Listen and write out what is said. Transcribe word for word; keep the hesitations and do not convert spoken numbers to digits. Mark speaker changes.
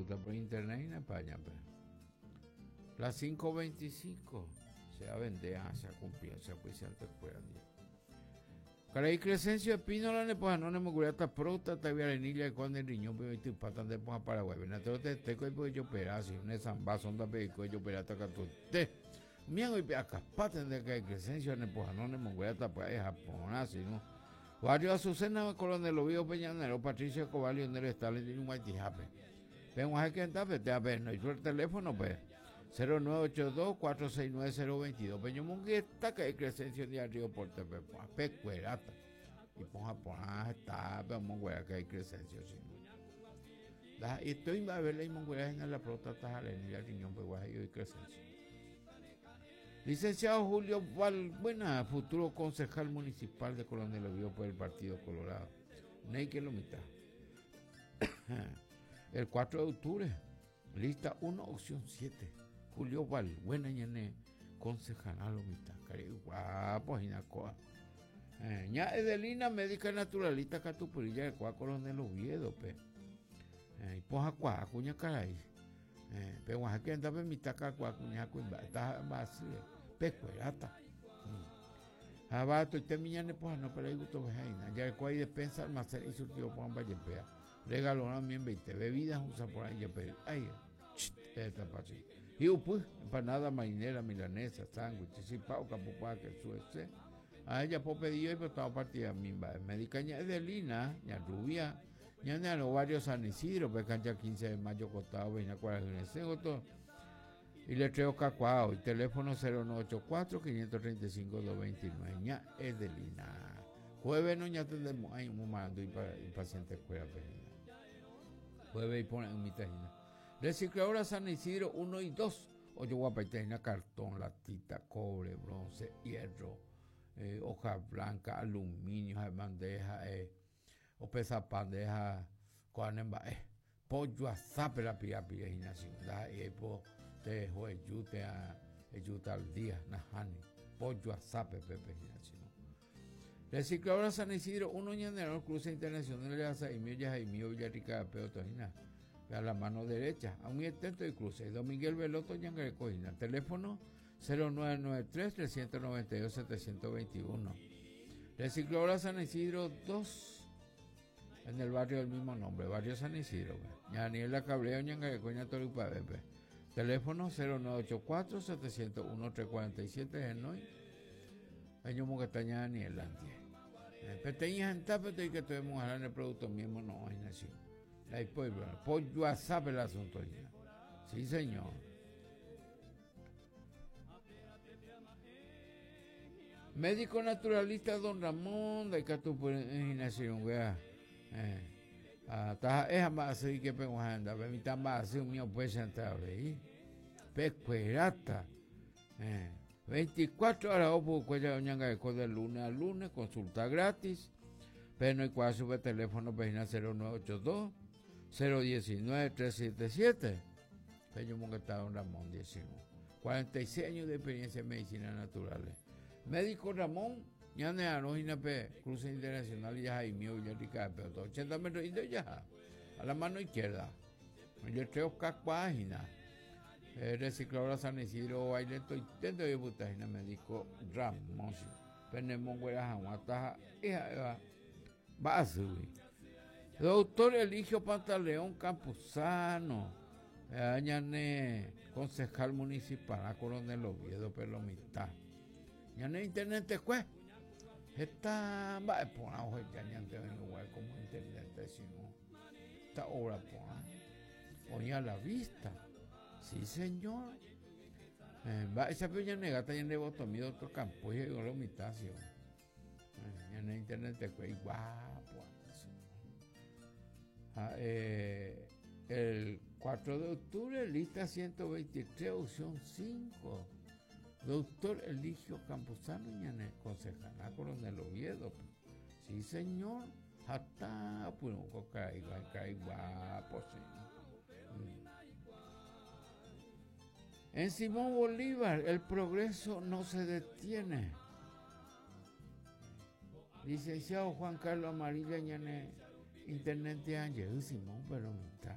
Speaker 1: Consulta por internet en España. Pe. Las cinco veinticinco se va a vender, ah, se ha cumplido, se ha puesto fuera. Caray Crescencio Espínola, ne pues no ne mugurata próstata y arenilla cuando el riñón pero tu pata de poja Paraguay. Ven a te te coi yo pera si un zamba sonda pe yo pera ta tu te. Mian hoy acá paten de que Crescencio ne pues no ne mugurata pues es Japón así no. Barrio Azucena, Coronel Oviedo Peñanero, Patricio Escobar, Leonel Stalin y un Guaytijape. Ven a que anda, te a ver, no hizo el teléfono pues cero nueve ocho dos, cuatro seis nueve, cero veintidós. Peño Mungueta, que es Crescencio de Río Porte, Pecuerata. Y ponja, ponja, está, pero monguera que hay Crescencio, sí. Y estoy a ver la monguera en la próstata, y el riñón, pues guay, y Crescencio. Licenciado Julio Valbuena, futuro concejal municipal de Coronel Oviedo por el Partido Colorado. Ney que lo mitad. El cuatro de octubre, lista uno, opción siete. Julio Valbuena, ñane, concejal a lo mitad. Cari guapo, jinacoa. Eh, ña Edelina, médica naturalista, Catupurilla, de Cuá, Coronel Oviedo, pe. Eh, y poja cuá, cuña caray. Eh, pe guaja que anda pe mitad ca cuá, cuña cuimba, está vacía, pecuerata. Mm. Abato, y te miñane poja, no, pero ahí gusto vejaina. Ya el cuá y despensa, almacén y surtido poja, vaya, pea. Regaló también veinte bebidas, usa por ahí, ya, pero, ay, chit, esta pachi. Y pues, empanada marinera, milanesa, sándwich, chipao, capupá, que suece. A ella po pedido y pues estaba partida mimba. Médica ña Edelina, ña Rubia, ña ña barrio San Isidro, pues cancha quince de mayo, costado, veina cuarenta y cinco, y le traigo cacuao, y teléfono cero nueve ocho cuatro, quinientos treinta y cinco, dos veintinueve, ña Edelina. Jueves no ña tendremos, ay, un mando y pa, y paciente escuela, pues, jueves y pone un mitad. Recicladora San Isidro uno y dos, ocho guapaitena, cartón, latita, cobre, bronce, hierro, eh, hoja blanca, aluminio, bandeja, eh, o pesa bandeja, cuanemba, eh, pollo azape la pira pira gimnasio, da y po te jueyute a yuta al día, najani, pollo azape pepe gimnasio. Recicladora San Isidro uno ñanero, cruce internacional de Azaimio, Yajaimio, Villarrica, Peotojina, a la mano derecha, a un intento de cruce. Don Miguel Veloto, Ñangarecojina, teléfono cero nueve nueve tres, trescientos noventa y dos, setecientos veintiuno. Recicladora San Isidro dos, en el barrio del mismo nombre, barrio San Isidro. Daniela Cabreo, Ñangarecoña, Torupa, Pepe. Teléfono cero nueve ocho cuatro, setecientos uno, trescientos cuarenta y siete, Genoy. Año Mocastaña, Daniel Antia. Peteña, Gentape, y que tuvimos a el producto mismo, no hay nación. Ahí pueblo, pollo asape el asunto. Sí, señor. Médico naturalista don Ramón de Catupurinación, wea. Eh, ah, es más así que pego anda, ve mi tan más así mío puede sentar ahí. Pecuerata. Eh, veinticuatro horas opo cuella doña de de lunes a lunes, consulta gratis. Pero no hay cual sube teléfono página cero nueve ocho dos, cero diecinueve, tres siete siete. Peño Monguetá, don Ramón, diecinueve. cuarenta y seis años de experiencia en medicina naturales. Médico Ramón, ñane Arojina P, Cruce Internacional y Jaime Villarrica, pero ochenta metros y de ya, a la mano izquierda. Yo traigo cacuágina. Eh, recicladora San Isidro, baile, estoy dentro de Butajina, médico Ramón. Penemongüera, Jaguataja, hija, va, va a subir. Doctor Eligio Pantaleón Campuzano, eh, ñane, concejal municipal, a Coronel Oviedo, Pelomita. Ñane internet te cue. Esta va a poner ojo ya ñante en lugar como internet, sino esta obra pone. Oye a la vista. Sí, señor. Eh, va, esa peña negata ya le botó mi doctor Campos y llegó la mitad, sí. Eh, ñane internet te cue guapo. Ah, eh, el cuatro de octubre, lista ciento veintitrés, opción cinco. Doctor Eligio Campuzano, ñane, concejal, Coronel Oviedo. Sí, señor. Hasta, pues, caiga, caiga, guapo, sí. Mm. En Simón Bolívar, el progreso no se detiene. Licenciado Juan Carlos Amarilla, ñane, intendente Ángel, Simón, pero mitad.